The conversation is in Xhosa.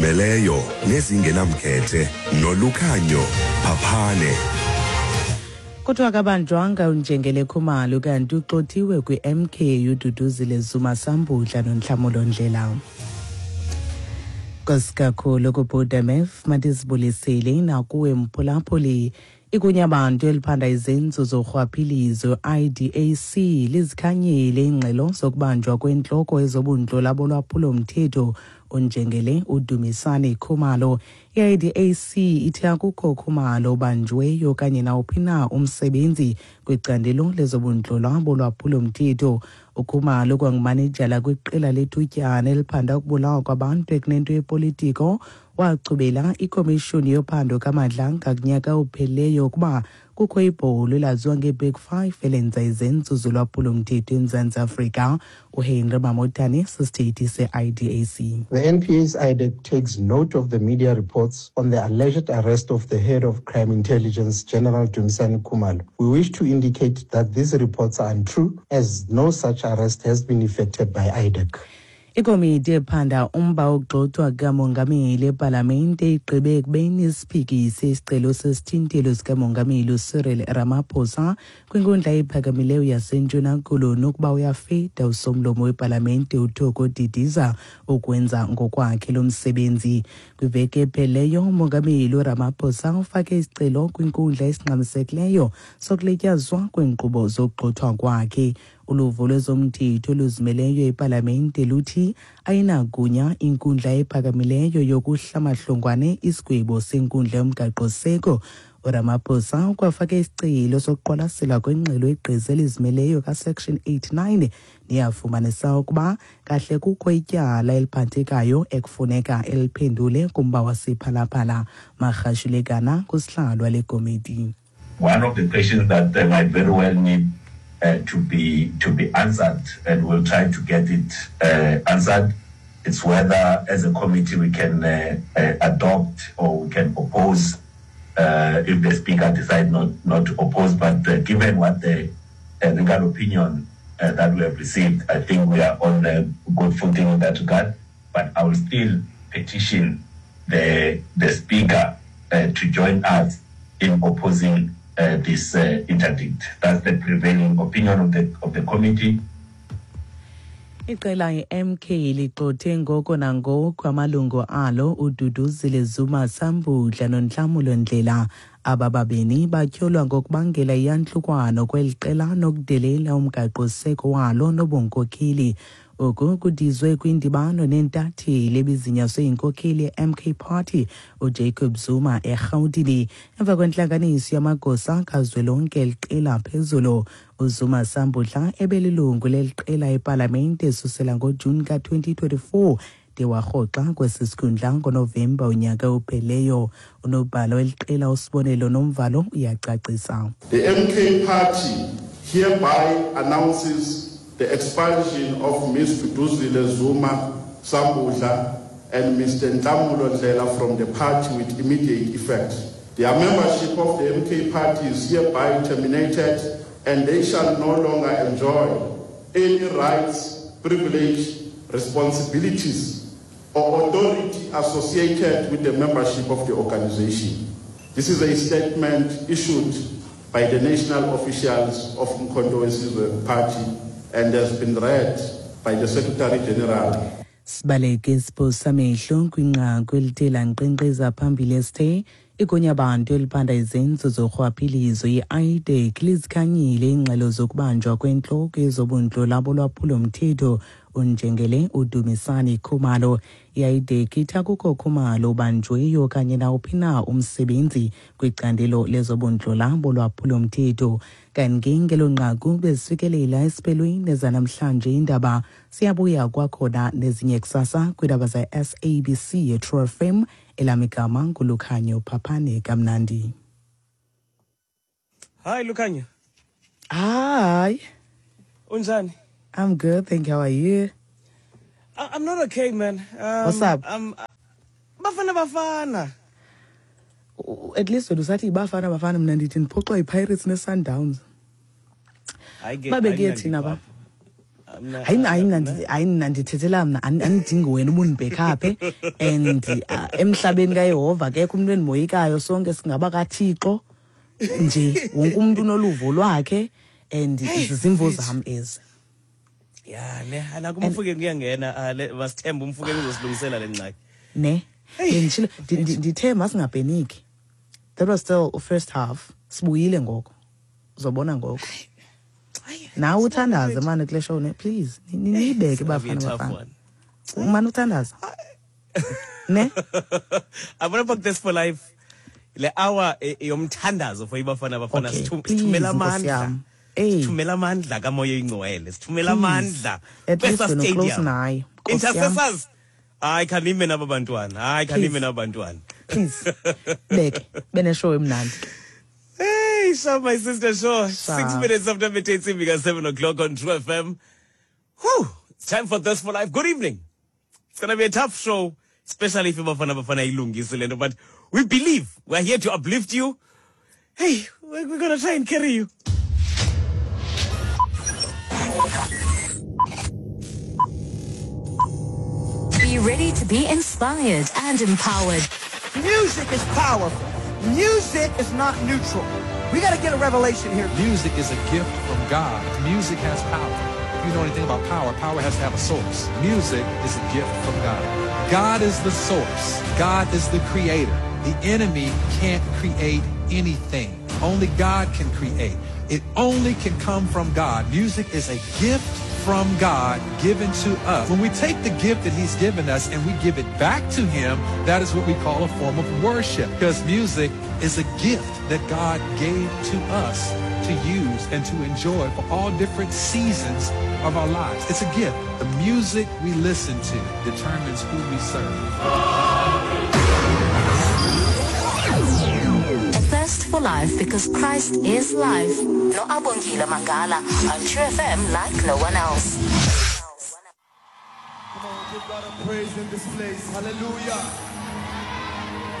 Meleyo nezingenamkhethe nolukhanyo phaphane. Kuthiwa kabanjwanga uNjengele Khumalo kanti uxothiwe kwi-MK uDuduzile Zuma Sambudla noNhlamulo Ndlela. Nkosi kakhulu kuBudemef madizibulisile nakuwe mphulaphuli. Igunyabantu eliphanda izenzo zorhwaphilizo IDAC lizikhanyile iingxelo zokubanjwa kwentloko ezobundlola bolwaphulo-mthetho unjengele uDumisani Khumalo. I-IDAC ithi akukho Khumalo ubanjweyo okanye nawuphi na umsebenzi kwicandelo lezobundlola bolwaphulo-mthetho. UKhumalo kwangumanejala kwiqela lethutyana eliphanda ukubulawa kwabantu ekunento yepolitiko wachubela ikomishoni yophando kaMadlanga kunyaka ophelileyo ukuba kukho ibholo elaziwa ngeBig Five elenza izenzo zolwaphulo-mthetho eMzantsi Afrika. UHenry Mamotane sisithethi se-IDAC. The NPA's IDAC takes note of the media reports on the alleged arrest of the head of crime intelligence, General Dumisani Khumalo. We wish to indicate that these reports are untrue, as no such arrest has been effected by IDAC. Ikomiti ephanda umba wokugxothwa kukamongameli epalamente igqibe ekubeni isiphikise isicelo sesithintelo sikamongameli uCyril Ramaphosa kwinkundla ephakamileyo yaseNtshona Koloni ukuba uyafida usomlomo wepalamente uThoko Didiza ukwenza ngokwakhe lo msebenzi. Kwiveki epheleyo umongameli uRamaphosa ufake isicelo kwinkundla esingxamisekileyo sokulityazwa kweenkqubo zokugxothwa kwakhe. Uluvo lwezomthetho oluzimeleyo epalamente luthi ayinagunya inkundla ephakamileyo yokuhla mahlongwane isigwebo senkundla yomgaqoseko. URamaphosa ukwafake isicelo sokuqwalasela kwengxelo yegqiza elizimeleyo kaSection 89 neyafumanisa ukuba kahle kukho ityala eliphathekayo ekufuneka eliphendule kumba wasePhalaphala. Marhashulekana kusihlalo wale komiti. One of the questions that might very well need to be to be answered, and we'll try to get it answered. It's whether, as a committee, we can adopt or we can oppose if the speaker decides not, not to oppose. But given what the legal opinion that we have received, I think we are on a good footing in that regard. But I will still petition the, the speaker to join us in opposing this interdict. That's the prevailing opinion of the, of the committee. Iqela i-MK ligxothe ngoko nangoko amalungu alo uDuduzile Zuma Sambudla noNhlamulo Ndlela. Aba babini batyholwa ngokubangela iyantlukwano kweli qela nokudelela umgaqoseko walo nobunkokheli. Oku kudizwe kwindibano neentatheli ebizinyaswe yinkokheli ye-MK Party uJacob Zuma eRhawutini emva kwentlanganiso yamagosa kazwelonke eliqela phezulu. UZuma Sambudla ebelilungu leli qela epalamente esusela ngoJuni ka-2024 de warhoxa kwesi sikhundla ngoNovemba unyaka opheleyo. Unobhala weli qela uSibonelo Nomvalo uyacacisa. The MK Party hereby announces the expulsion of Ms. Duduzile Zuma Sambudla and Mr. Nhlamulo Ndhlela from the party with immediate effect. Their membership of the MK Party is hereby terminated and they shall no longer enjoy any rights, privilege, responsibilities or authority associated with the membership of the organization. This is a statement issued by the national officials of Umkhonto weSizwe Party and has been read by the Secretary General. Sibaleke isipho samehlo kwinqaku elithe lankqenkqeza phambili esithe igunyabantu eliphanda izenzo zorhwaphilizo i-IDAC lizikhanyile iingxelo zokubanjwa kwentloko yezobundlola bolwaphulomthetho unjengele uDumisani Khumalo. I-IDAC ithi akukho Khumalo ubanjweyo okanye nawuphi na umsebenzi kwicandelo lezobundlola bolwaphulomthetho. Kanti ngelo nqaku bezifikelela esiphelweni ezanamhlanje iindaba. Siyabuya kwakhona nezinye kusasa kwiindaba ze-SABC yeTrue FM. Elam igama nguLukhanyo Phaphane, kamnandi. Hi Lukhanyo. Hi. Unjani? I'm good, thank you. How are you? I'm not okay, man. What's up? Bafana Bafana. At least wena usathi Bafana Bafana, mna ndithi ndiphoxwa yiPirates ne-Sundowns. Hayi ke Babekuye thina ba. mna Hayi, hayi, mna hayi, mna ndithethela mna, andidingi wena ubundibhekaphe and emhlabeni kaYehova akekho umntu endimoyikayo, sonke singaba kaThixo nje, wonke umntu unoluvo lwakhe and zizimvo zam ezi. Ya ne, anako uMofokeng kuyangena, masithembe uMofokeng uzosilungisela le ngxaki. Ne, benditshilo, ndithe masingapeniki. That was still first half. Sibuyile ngoko, uzobona ngoko. Nawe uthandaze mane kule show ne, please, niyibeke. It's gonna be a Bafana tough Bafana one. Umane uthandaza ne. I want to book this for life, le hour yomthandazo for iBafana Bafana. Okay, please, Sithumela Nkosi amandla. yam. Ey. Sithumela amandla kaMoya Ingcwele, sithumela Please. amandla At least kwesa wena close stadium. naye, Nkosi yam. Intercessors, hayi, khanime naba bantwana, hayi, khanime Please. naba bantwana. Please beke beneshow emnandi. Hey, sharp, my sister, sure. 6 Sharp. minutes after midday, because 7 o'clock on True FM. Whew, it's time for Thirst for Life. Good evening. It's going to be a tough show, especially if Bafana Bafana ilungise le nto, but we believe we're here to uplift you. Hey, we're going to try and carry you. Be ready to be inspired and empowered. Music is powerful. Music is not neutral. We got to get a revelation here. Music is a gift from God. Music has power. If you know anything about power, power has to have a source. Music is a gift from God. God is the source. God is the creator. The enemy can't create anything. Only God can create. It only can come from God. Music is a gift from God given to us. When we take the gift that he's given us and we give it back to him, that is what we call a form of worship, because music is a gift that God gave to us to use and to enjoy for all different seasons of our lives. It's a gift. The music we listen to determines who we serve. A thirst for life, because Christ is life. No Abongile Mangala on True FM like no one else. Come on, give God a praise in this place. Hallelujah.